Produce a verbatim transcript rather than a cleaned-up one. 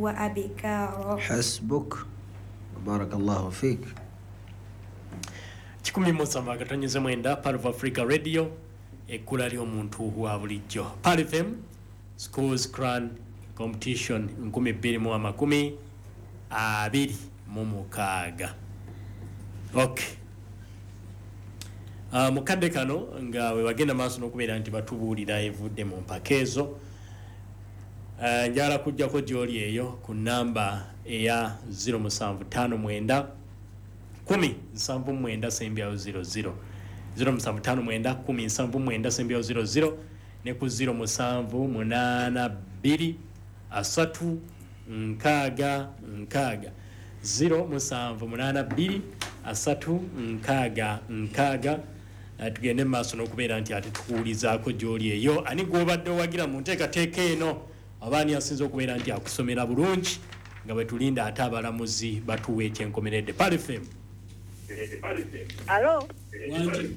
وأبكارا. حسبك، بارك الله فيك. Kikumi musanvu akatonyeze mwenda, Pearl of Africa Radio, ekkula ly'omuntu wa bulijjo. Pearl F M Schools Quran Competition nkumi bbiri mu amakumi abiri mu mukaaga. Okay. Uh, mukadde kano nga we bagenda maaso n'okubeera nti batubuulira evudde mu mpaka ezo, uh, njagala kujjako gy'oli eyo ku namba eya zero musanvu ttaano mwenda kumi nsanvu mwenda sembyayo zero zero, zero musanvu ttaano mwenda kumi nsanvu mwenda sembyayo zero zero, ne ku zero musanvu munaana bbiri asatu nkaaga nkaaga, zero musanvu munaana bbiri asatu nkaaga nkaaga. Eh, tugende mu maaso n'okubeera nti ate tukuwulizaako gy'oli eyo, ani gw'obadde owagira mu nteekateeka eno, oba ani asinza okubeera nti akusomera bulungi, nga bwe tulinda ate abalamuzi batuwa ekyenkomeredde. Pearl F M. Alo. Wangi.